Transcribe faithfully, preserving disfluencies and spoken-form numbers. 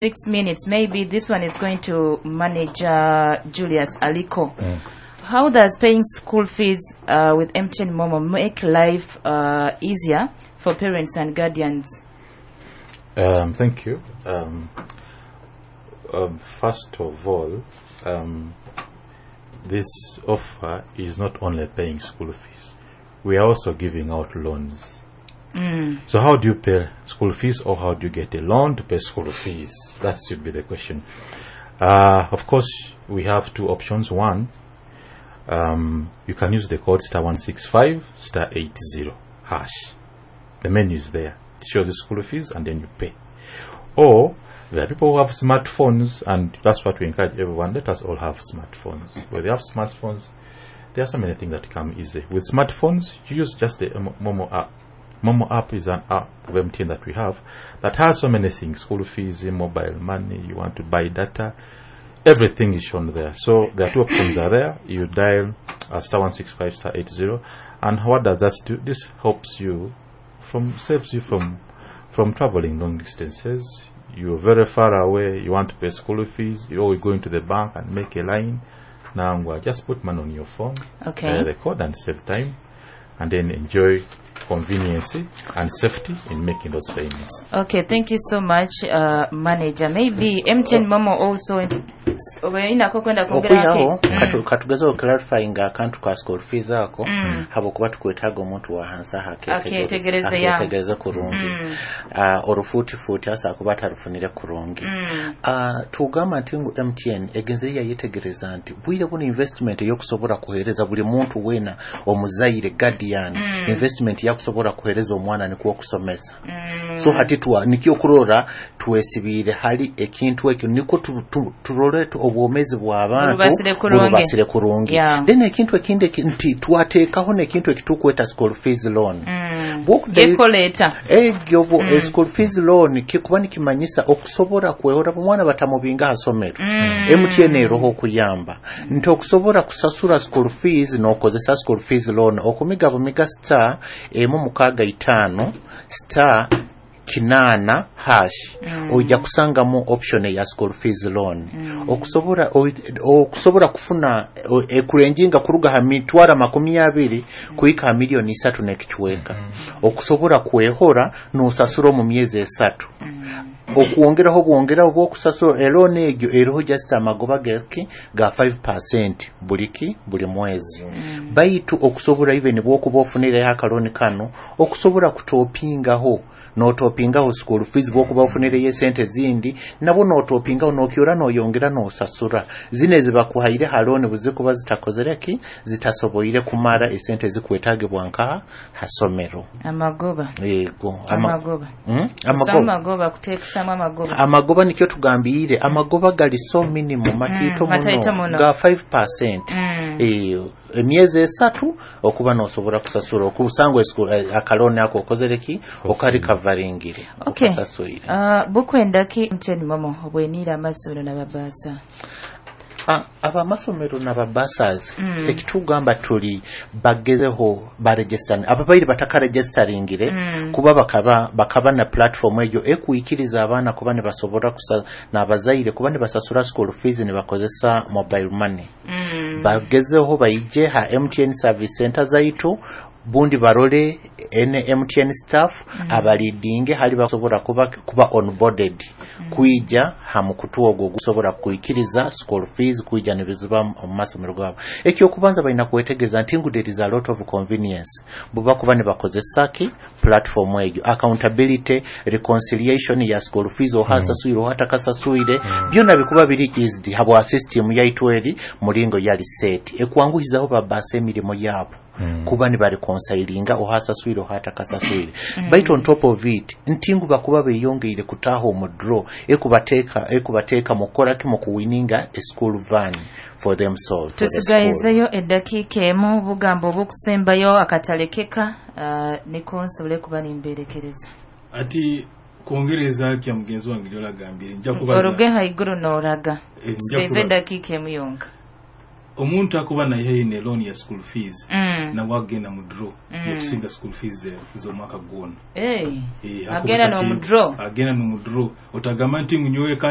Six minutes. Maybe this one is going to manager Julius Aliko. Mm. How does paying school fees uh, with M T N Momo make life uh, easier for parents and guardians? Um, thank you. Um, um, first of all, um, this offer is not only paying school fees, we are also giving out loans. Mm. So, how do you pay school fees or how do you get a loan to pay school fees? That should be the question. Uh, of course, we have two options. One, um, you can use the code star one six five star eighty hash. The menu is there. It shows the school fees and then you pay. Or there are people who have smartphones, and that's what we encourage everyone. Let us all have smartphones. Where they have smartphones, there are so many things that come easy. With smartphones, you use just the Mo- Momo app. Momo app is an app of M T N that we have that has so many things: school fees, mobile money, you want to buy data, everything is shown there. So there are two options are there. You dial uh, star one six five star eighty, and what does that do? This helps you from saves you from from traveling long distances. You're very far away. You want to pay school fees. You always go into the bank and make a line. Now, just put money on your phone, Okay. dial the code, and save time, and then enjoy convenience and safety in making those payments. Okay, thank you so much, uh, manager. Maybe M T N Momo also obainako kwenda kwongerako. Okwihaho Mm. katu- katugeze okuclarifyinga akantu ka school fees ako, Mm. habwokuba tukwetaaga omuntu wa hansi aho Aketegereze, ya. aketegereze kurungi. Mm. Ah, orufuutifuuti asa kuba atarufunire kurungi. Mm. Ah, tugamba nti ngu M T N egenzere yayetegereza nti bwire buno investment eyokusobola kuheereza buli muntu weena omuzaire, guardian, Mm. investment yakusobola kuheereza omwana nikwo okusomesa. Mm. So hati twa nikyo okurora twesibiire hali ekintu ekyo nikwo tu- tu- turole tu- obwomezi bw'abantu Burubasire kurungi. Burubasire kurungi. Yeah. Then ekintu ekindi eki- nti twateekaho n'ekintu ekitukweta school fees loan. Mm. Bw'okuddayo- Ekoleeta. Egyo bwo Mm. mm. school fees loan kikuba nikimanyisa okusobola kwehora omwana batamubinga ha somero. Mm. M T N eroho okuyamba nti okusobola kusasura school fees n'okozesa school fees loan, okumiga bumiga star emu mukaaga itaano star kinaana hash. Mm. Ojja kusangamu option eya school fees loan. Mm. okusobola o- okusobola kufuna o- ekurenjinga kuruga ha mitwaro makumi abiri kuhika ha miliyoni isatu n'ekicweka, okusobola kwehora n'osasura omu myezi esatu. Mm. Okwongeraho bwongeraho bwokusasura eloan egyo eriho just amagoba geki ga five percent buliki buli mwezi. Mm. Baitu okusobola even bwokuba ofunireho akalooni kano, okusobola kutopingaho n'otopingaho school fees, bwokuba ofunireyo esente zindi nabwo n'otopingaho n'okyora n'oyongera n'osasura zino ezibakuhaire ha looni buzikuba zitakozere ki, zitasoboire kumara esente zikwetagibwa nkaha ha somero. Amagoba. Yego, ama, Amagoba. mm? Amagoba, Amagoba. Amagoba kuteekesamu amagoba. Amagoba nikyo tugambire, amagoba gali so minimum, matiito. Mm, mataito muno muno. Ga five percent. Mm. Eh, emyezi esatu okuba nosobola kusasura okusanga akalooni ako okozere ki, okarikavaringire, Okay. okasasuire. Uh, bukwenda ki M T N Momo obweniire amasomero n'ababaasa? Ah, abamasomero n'ababursars, Mm. ekitugamba tuli bagezeho baregister ababaire batakaregistaringire, Mm. kuba bakaba bakaba na platform eyo ekuikiriza abaana kuba nibasobora kusa n'abazaire kuba nibasasura school fees nibakozesa mobile money. Mm. Bagezeho baije ha M T N service center zaitu, bundi barole ene M T N staff mm. abalidinge hali basobola kuba, kuba onboarded mm. kwija ha mukutu ogwo gusobola kuikiriza school fees kwija nibiziba mu masomero gabo. Ekyokubanza balina kwetegereza nti ngu there is a lot of convenience buba kuba nibakozesa ki platform egyo, accountability, reconciliation ya school fees, ohasasuire ohatakasasuire, mm. byona bikuba biri easy habwa system yaitu eri mulingo yali set ekwanguhizaho babasa emirimu yabo Mm. kuba nibareconcilinga ohasaswire ohatakasaswire mm. Baitu on top of it ntingu bakuba beyongeire kutaha omu draw ekubateeka ekubateeka mu kukola ki, mu kuwininga a school van for themselves, for the school. Tusigayizeyo eddakiika emu, bugambo obukusembayo akatalekeka, uh, niko nsobole kuba nimberekereza. Ati kwongereza kya mugenzi wange gyolagambire, nja kubaza Oruge haiguru n'oraga. Eh, nja Tusigayize kuba- eddakiika emu yonka. Omuntu akuba naihayo ne loan ya school fees, Mm. nawe agenda mu draw Mm. yokusinga school fees eh, z'omwaka gwona. Hey. Eh, Agenda hakuba n'omu kati- draw. Agenda n'omu draw. Otagamba nti ngu nyowe kandi.